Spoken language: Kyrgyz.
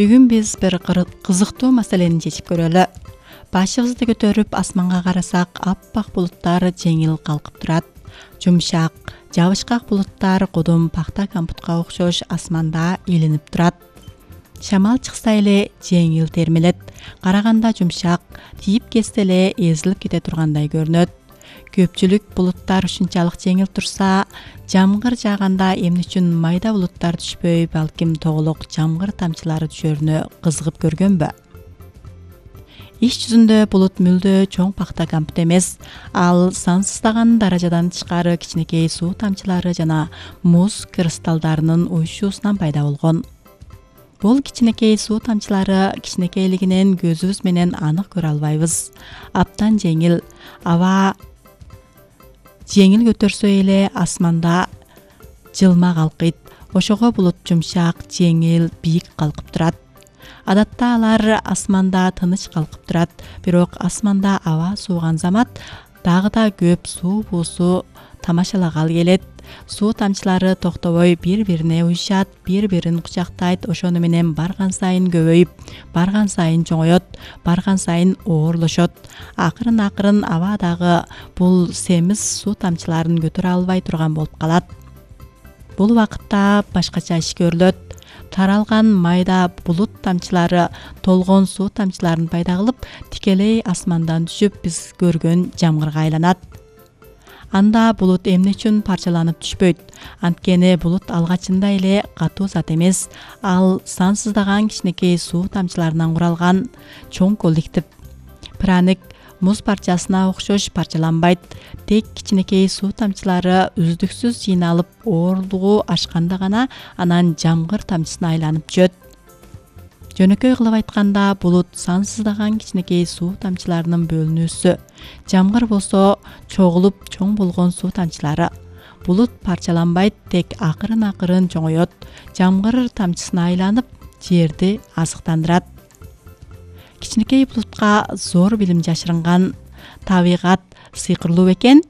Бүгүн биз бир кызыктуу маселени чечип көрөлү. Башыбызды көтөрүп асманга карасак, аппак булуттар жеңил калкып турат. Жумшак, жабышкак булуттар кудум пахта кампутка окшош асманда илинип турат. Шамал чыкса эле жеңил термелет. Караганда жумшак, тийип кетсе эле эзилип кете тургандай көрүнөт. Көпчүлүк булуттар ушунчалык жеңил турса, жамгыр жааганда эмне үчүн майда булуттар түшпөй, балким тоголок жамгыр тамчылары түшөрүнө кызыгып көргөнбү? Иш жүзүндө булут мүлдө чоң пахта кампут эмес. Ал сансыздаган даражадан тышкары кичинекей суу тамчылары жана муз кристаллдарынын уюшуусунан пайда болгон. Бул кичинекей суу тамчылары кичинекейлигинен көзүбүз менен анык көрө албайбыз. Аптан жеңил, аба жеңил көтөрсө эле асманда жылма калкыйт. Ошого булут жумшак, жеңил, бийик калкып турат. Адатта алар асманда тыныч калкып турат, бирок асманда аба сууган замат дагы да көп суу буусу тамашалагалы келет. Суу тамчылары токтобой бири-бирине уюшат, бири-бирин кучактайт, ошону менен барган сайын көбөйүп, барган сайын чоңоет, барган сайын оорлошот. Акырын абадагы бул семиз суу тамчыларын көтөрө албай турган болуп калат. Бул убакытта башкача иш көрүлөт. Таралган майда булут тамчылары толгон суу тамчыларын пайда кылып, тикелей асмандан түшүп, биз көргөн жамгырга айланат. Анда булут эмне үчүн парчаланып түшпөйт? Анткени булут алгачында эле катуу зат эмес. Ал сансыздаган кичинекей суу тамчыларынан куралган чоң коллектив. Праник муз парчасына окшош парчаланбайт. Тек кичинекей суу тамчылары үздүксүз жыйналып, оорлугу ашканда гана анан жамгыр тамчысына айланып түшөт. Жөнөкөй кылып айтканда, булут сансыздаган кичинекей суу тамчыларынын бөлүнүүсү. Жамгыр болсо чогулуп чоң болгон суу тамчылары. Булут парчаланбайт, тек акырын чоңоет. Жамгыр тамчысына айланып, жерди азыктандырат. Кичинекей булутка зор билим жашырынган. Табигат сыйкырлуу бекен.